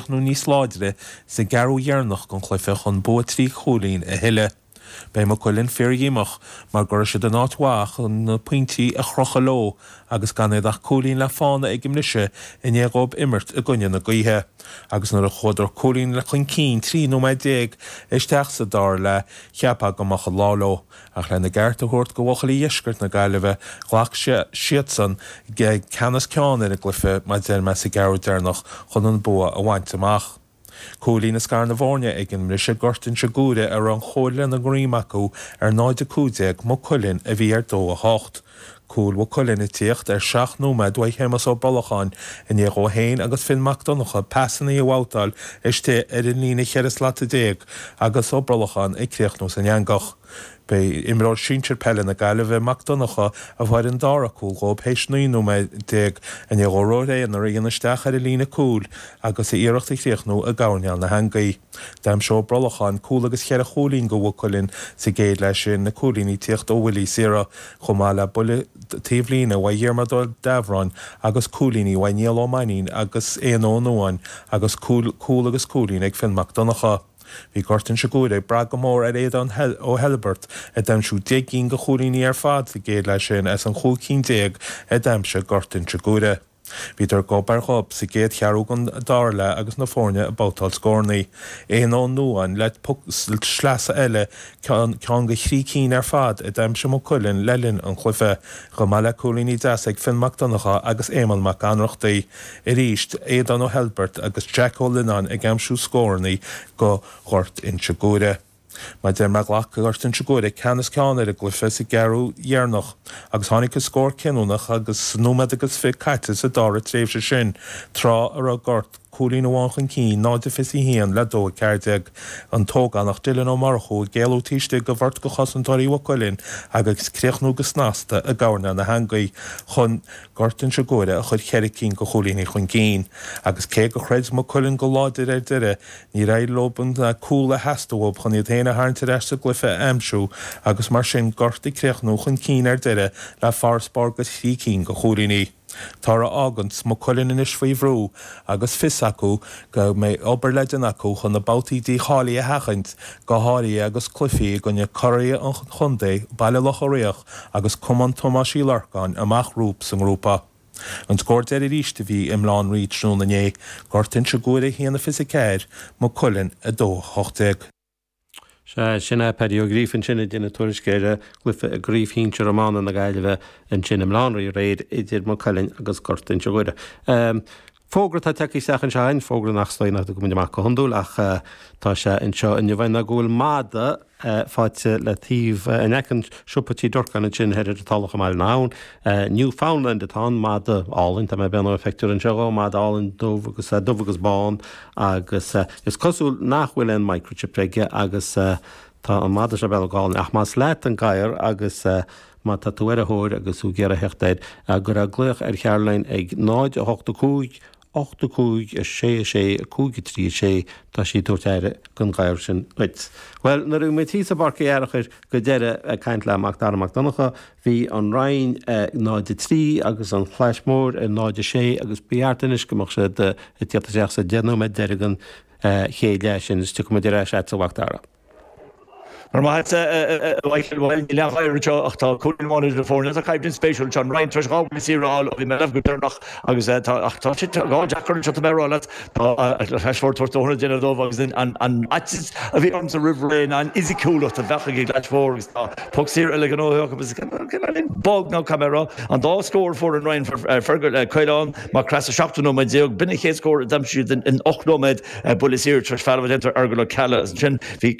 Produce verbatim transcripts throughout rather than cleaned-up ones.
críochnú níos láidre sa gceathrú dheireanach den chluiche chun bua trí chúilín a thuilleamh. Beidh Maigh Cuilinn fíordhíomách mar go raibh siad in áit mhaith chun na pointí a chrochadh leo agus gan iad ach cúilín le fána ag an mbriseadh i ndiaidh dóibh imirt i gcoinne na gaoithe. Agus nuair a chuadar cúilín le chun cinn trí nóiméad déag isteach sa dara leath cheapfá go mbeadh an lá leo, ach lena gceart a thabhairt do bhuachaillí dheisceart na Gaillimhe ghlac siadsan ceannas ceann ar an gcluiche mar deir mé sa gceathrú deireanach chun an bua a bhaint amach. Cúilín a scar na foirne ag an mbriseadh Gort Inse Guaire a raibh an chóir lena ngreim acu ar náid a cúig déag Maigh Cuilinn a bhí ar dó a hocht. Cúl Mhaigh Cuilinn ag tíocht ar seacht nóiméad uaidh Shéamus Ó Brolacháin i ndiaidh dó féin agus Finn Mac Donncha pasanna a bhabhtáil istigh ar an líne cheithre slata déag agus Ó Brolacháin ag críochnú san eangach. B'é imreoir sinsir peile na Gaillimhe Mac Donncha a fuair an dara cúl dóibh théis naoi nóiméad déag i ndiaidh dó Rory Aonair a dhéanamh isteach ar an líne cúil agus a iarracht a chríochnú i gcoirnéal na heangaí. D'aimsigh Ó Brolacháin cúl agus cheithre chúilín do Mhaigh Cuilinn sa gcéad leath sin na cúilíní ag tíocht ó bhuillí saora, chomh maith le buille taobhlíne uaidh Dhiarmaid Ó Deamhráin agus cúilíní uaidh Niall Ó Mainnín agus Éanna Ó Nuáin agus cúl agus cúilín ag Finn Mac Donncha. Bhí Gort Inse Guaire ag brath go mór ar Aodán Ó hEilbeart a d'aimsigh deich gcinn de chúilíní ar fad sa gcéad leath sin as an chúig cinn déag a d'aimsigh Gort Inse Guaire. Bhíodar gob ar ghob sa gcéad cheathrú den dara leath agus na foirne ag babhtáil scóranna. Éanna Ó Nuáin le poc sleasa eile, ceann de thrí cinn ar fad a d'aimsigh Maigh Cuilinn le linn an chluiche, chomh maith le cúilíní deasa ag Finn Mac Donncha agus Éamonn Mac Ionnrachtaigh. Arís, Aodán Ó hEilbeart agus Jack Ó Lionáin ag aimsiú scóranna do Ghort Inse Guaire. Mar deir mé ghlac Gort Inse Guaire ceannas ceann ar an gcluiche sa gceathrú dheireanach agus tháinig an scór cinniúnach agus nóiméad agus fiche caite sa dara tréimhse sin, tráth a raibh Gort cúilín amháin chun cinn, náid a fiche a haon le dó a ceathair déag. An t-ógánach Dylan Ó Murchú ag éalú taobh istigh de bheirt de chosantóirí Mhaigh Cuilinn agus críochnú go snasta i gcoirnéal na heangaí chun Gort Inse Guaire a chur ceithre cinn de chúilíní chun cinn. Agus cé gur chreid Maigh Cuilinn go láidir ar deireadh, níor éirigh leo an cúl a theastaigh uathu chun iad féin a tharraingt ar ais sa gcluiche a aimsiú agus mar sin Gort ag críochnú chun cinn ar deireadh le farasbarr de thrí cinn de chúilíní. Toradh a fháganns Maigh Cuilinn anois faoi bhrú agus fios acu go mbeidh obair le déanamh acu chun na babhtaí dícháilithe a sheachaint, go háirithe agus cluichí i gcoinne curaidh an chontae, Baile Locha Riach agus Cumann Thomáis Uí Lorcáin amach rompu sa ngrúpa. An scór deiridh arís a bhí i mBaile Átha an Rí tráthnóna inné, Gort Inse Guaire a haon a fiche a ceathair, Maigh Cuilinn a dó a hocht déag. Sea, sin é Paddy Ó Gríofa ansin ag déanamh tuairisc ar chluiche i gCraobh Shinsir Iomána na Gaillimhe ansin i mBaile Átha an Rí aréir idir Maigh Cuilinn agus Gort Inse Guaire. Fógra atá tagtha isteach anseo againn, fógra nach stoigh nach dtugann muid amach go hiondúil ach tá sé anseo inniu ná go bhfuil madadh faighte le taobh in aice an siopa Tí Durcáin ansin thoir ar an Tulach i mBaile na hAbhann. Newfoundland atá ann, madadh álainn, tá mé ag breathnú ar phictiúr anseo dhó, madadh álainn dubh agus dubh agus bán agus is cosúil nach bhfuil aon microchip aige agus tá an madadh seo beag álainn ach más leat an gadhar agus má tá tú ar a thóir agus tú ag iarraidh theacht air gur glaoch ar Caroline ag náid a hocht a cúig ocht a cúig a sé a sé a cúig a trí a sé tá sí ag tabhairt aire don ghadhar sin duit. Well nuair a bhí muid thíos i bPáirc Uí Fhearchair go deireadh ag caint le Mac Dara Mac Donncha bhí an Rinn náid a trí agus an Chlais Mhór ar náid a sé agus ba cheart anois go mbeadh siad ag tíocht isteach sa deich nóiméad deiridh den chéad leath sin is tiocfaidh muid ar ais agat a Mhac Dara. Mar maith Michael well níl aon ghadhar anseo ach tá cúilín amháin idir na foirne. Tá coimhlint spéisiúil anseo. An Rinn tar éis dhá bhuille saor a fháil ó bhí mé leamh go deireanach agus tá ach tá sé dhá deacair anseo tá mé ag rá leat. Tá an Chlais Mhór tabhairt dóthain a déanamh dóibh agus an an fhaitíos a bhí ormsa roimh ré ná an fhisiciúlacht a bheadh ag an gClais Mhór agus tá poc saor eile gnóthaithe acu agus bog nó caithfidh mé a rá an dá scór a fuair an Rinn Fergal Caolán Mac Craith sa seachtú nóiméad déag. B'in an chéad scór a d'aimsigh siad in ocht nóiméad buille saor tar éis feall a bheith déanta ar Fheargal Ó Ceallaigh agus ansin bhí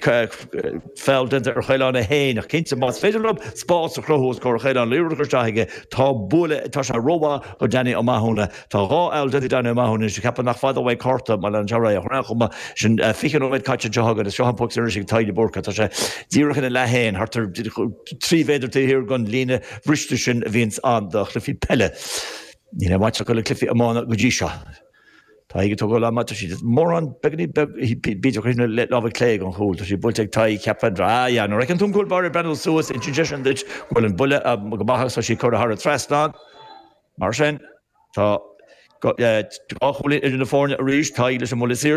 Feall déanta ar Chaolán é féin, ach cinnte, más féidir leo spás a chruthú os comhair Chaoláin, liathróid a chur isteach aige, tá bualadh, tá sé rómhaith do Danny Ó Mathúna. Tá dhá fheall déanta ag Danny Ó Mathúna anois, ceapaim nach fada uaidh cárta, má leanann sé ar aghaidh. Ach ar aon chuma, sin fiche nóiméad caite anseo againn, is seo an poc saor anois ag Tadhg de Búrca. Tá sé díreach ina leath féin, thart ar trí mhéadar taobh thiar den líne bhriste sin a bhíonns ann do chluichí peile. Níl aon bhaint acu le cluichí iomána go dtí seo. Tadhg ag tógáil ama, tá siad mórán beagainín beag, b'fhéidir chuir na lámha clé ag an chúl, tá sí buailte ag Tadhg, cheapfainn, ah yeah, nuair a fheiceann tú an cúl báire ag breathnú suas, insíonn sé sin duit go bhfuil an buille go maith agus tá sí curtha thar an trasnán. Mar sin, tá dhá chúilín idir na foirne arís, Tadhg leis an mbuille saor.